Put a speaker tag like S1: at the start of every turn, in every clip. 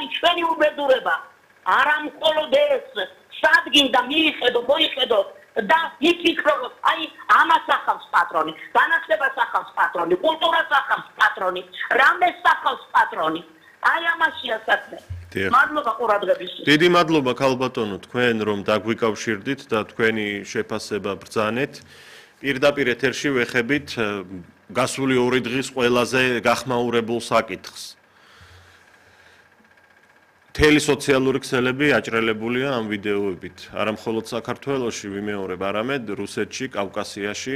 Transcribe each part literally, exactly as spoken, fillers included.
S1: არის ჩვენი უბედურება. არა მხოლოდ ეს, სადგინდა მიიხედო, მოიხედო და იფიქრო, აი ამას ახავს პატრონი, განათლებას ახავს პატრონი, კულტურას ახავს პატრონი, რამეს ახავს პატრონი. აი ამაშია საქმე. მადლობა ყურადღებისთვის.
S2: დიდი მადლობა ქალბატონო, თქვენ რომ დაგვიკავშირდით და თქვენი შეფასება ბრძანეთ. პირდაპირ ეთერში ვეხებით გასული ორი დღის ყველაზე გახმაურებულ საკითხს. მთელი სოციალური ქსელები აჭრელებულია ამ ვიდეოებით. არა მხოლოდ საქართველოში, ვიმეორებ, არამედ რუსეთში, კავკასიაში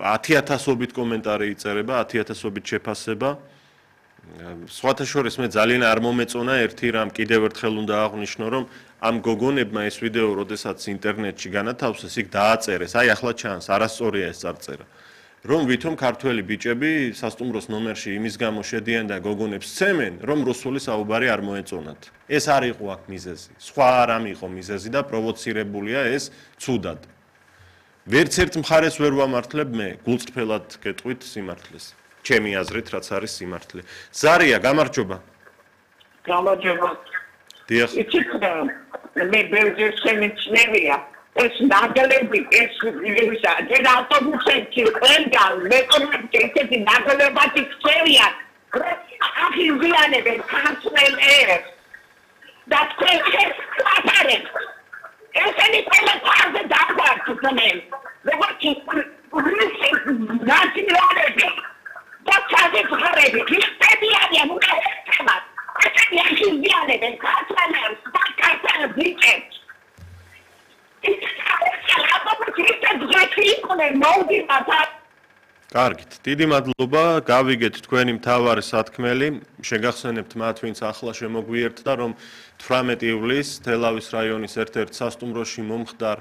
S2: ათი ათასობით კომენტარი იწერება, ათი ათასობით შეფასება. სხვათა შორის მე ძალიან არ მომეწონა ერთი რამ, კიდევ ერთხელ უნდა აღვნიშნო, რომ ამ გოგონებმა ეს ვიდეო, როდესაც ინტერნეტში განათავსეს, იქ დააწერეს, აი ახლა ჩანს, არასწორია ეს წარწერა. რომ ვითომ ქართველი ბიჭები სასტუმროს ნომერში იმის გამო შედიან და გოგონებს სცემენ, რომ რუსული საუბარი არ მოეწონათ. ეს არ იყო აქ მიზეზი. სხვა რამ იყო მიზეზი და პროვოცირებულია ეს ცუდად. ვერც ერთ მხარეს ვერ ვამართლებ მე, გულწრფელად გეტყვით სიმართლეს. ჩემი აზრით, რაც არის სიმართლე. ზარია, გამარჯობა.
S1: გამარჯობა.
S2: დიახ.
S1: იცით მე ბევრჯერ შემიძლია ეს ნაგლები ეს ვისა ჯერ ავტობუსებში ყველგან მეკონებთ ესეთი ნაგლებად იქცევიან ახიზიანებენ ქართველ ერს და თქვენ ეს აფარეთ ესენი ყველა თავზე დაგვარცხდნენ როგორც რუსი ნაციონალები და ჩაძეცხარები ქრისტიანია უკეთებად ესენი ახიზიანებენ ქართველ ერს და ქართველ ბიჭებს
S2: კარგით, დიდი მადლობა, გავიგეთ თქვენი მთავარი სათქმელი, შეგახსენებთ მათ, ვინც ახლა შემოგვიერთდა, რომ თვრამეტი ივლისს თელავის რაიონის ერთ-ერთ სასტუმროში მომხდარ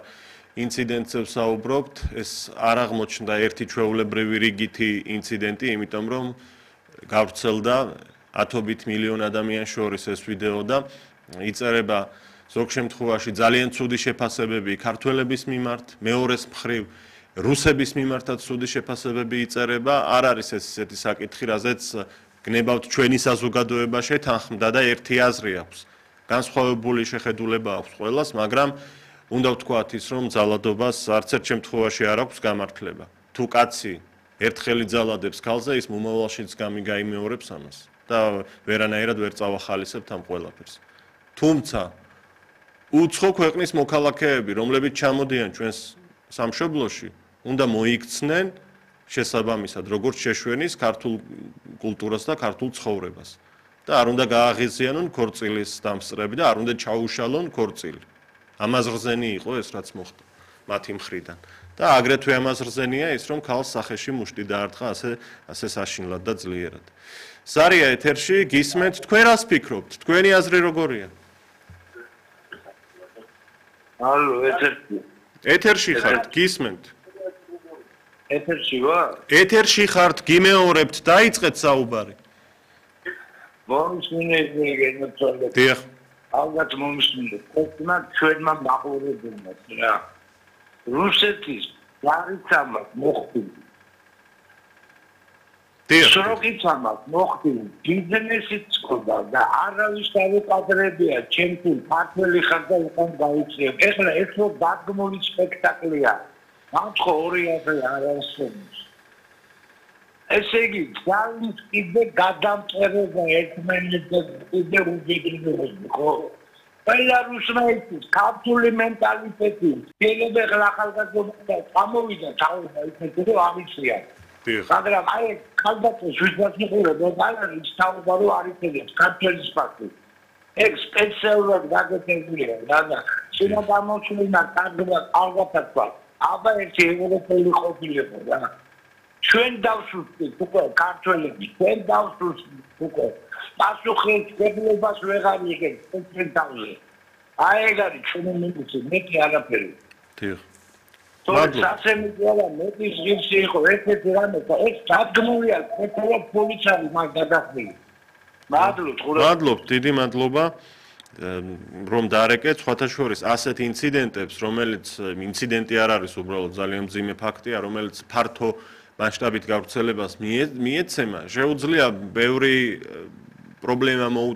S2: ინციდენტზე ვსაუბრობთ, ეს არ აღმოჩნდა ერთი ჩვეულებრივი რიგითი ინციდენტი, იმიტომ რომ გავრცელდა ათობით მილიონ ადამიანს შორის ეს ვიდეო და იწერება ზოგ შემთხვევაში ძალიან ცუდი შეფასებები ქართველების მიმართ, მეორეს მხრივ რუსების მიმართაც ცუდი შეფასებები იწერება, არ არის ეს ისეთი საკითხი, რაზეც გნებავთ ჩვენი საზოგადოება შეთანხმდა და ერთი აზრი აქვს. განსხვავებული შეხედულება აქვს ყველას, მაგრამ უნდა ვთქვათ ის, რომ ძალადობას არც ერთ შემთხვევაში არ აქვს გამართლება. თუ კაცი ერთხელ იძალადებს ქალზე, ის მომავალშიც გამიგაიმეორებს ამას და ვერანაირად ვერ წავახალისებთ ამ ყველაფერს. თუმცა უცხო ქვეყნის მოქალაქეები, რომლებიც ჩამოდიან ჩვენს სამშობლოში, უნდა მოიქცნენ შესაბამისად, როგორც შეშვენის ქართულ კულტურას და ქართულ ცხოვრებას. და არ უნდა გააღიზიანონ ქორწილის დამსწრები და არ უნდა ჩაუშალონ ქორწილი. ამას რძენი იყო ეს, რაც მოხდა მათი მხრიდან. და აგრეთვე ამას რძენია ის, რომ ქალს სახეში მუშტი დაარტყა ასე ასე საშინლად და ძლიერად. ზარია ეთერში, გისმენთ, თქვენ რას ფიქრობთ? თქვენი აზრი როგორია?
S3: ალო, ეთერში.
S2: ეთერში ხართ, გისმენთ.
S3: ეთერში ვარ?
S2: ეთერში ხართ, გიმეორებთ, დაიწყეთ საუბარი.
S3: მომსმინეთ მეგენოწოდეთ.
S2: დიახ.
S3: ალბათ მომსმინეთ. თქვენ ჩვენმა მაყურებელმა რა. რუსეთის გარიცამას მოხდილი.
S2: დიახ.
S3: სროგიცამას მოხდილი. ბიზნესიც ყოდა და არავის დავეყადრებია ჩემთვის ქართველი ხარ და უკან გაიწევ. ეხლა ეს რო დაგმული სპექტაკლია. მათქო ორი ათი არ არსებობს. ესე იგი, ძალის კიდე გადამწერება ერთმანეთზე კიდე უძებნები, ხო? ყველა რუსნაირის ქართული მენტალიტეტი, შეიძლება ახლა ახალგაზრდა წამოვიდა თავი ისეთი რომ ამიცია. მაგრამ აი ხალხს ჟურნალს მიყურებდა და ის თავბარო არ იწევს ქართლის ფაქტი. ეგ სპეციალურად გაგეთებულია და და შეიძლება გამოჩვენა კარგად ალბათად აბა ერთი ევროპელი ყოფილიყო რა. ჩვენ დავსუსტეთ უკვე ქართველები, ჩვენ დავსუსტეთ უკვე. პასუხისმგებლობას ვეღარ იღებს ჩვენ თავზე. აი ეგ არის ჩვენი მინუსი, მეტი არაფერი.
S2: დიახ.
S3: თორე სასემიტი არა, მეტი ღირსი იყო ერთ-ერთი რამე და ეს დადგმულია ქართველ პოლიციამ მაგ გადახდილი. მადლობთ, ხურა.
S2: მადლობთ, დიდი მადლობა. რომ დაარეკეთ სხვათა შორის ასეთ ინციდენტებს, რომელიც ინციდენტი არ არის უბრალოდ ძალიან მძიმე ფაქტია, რომელიც ფართო მასშტაბით გავრცელებას მიეცემა, შეუძლია ბევრი პრობლემა მოუტანოს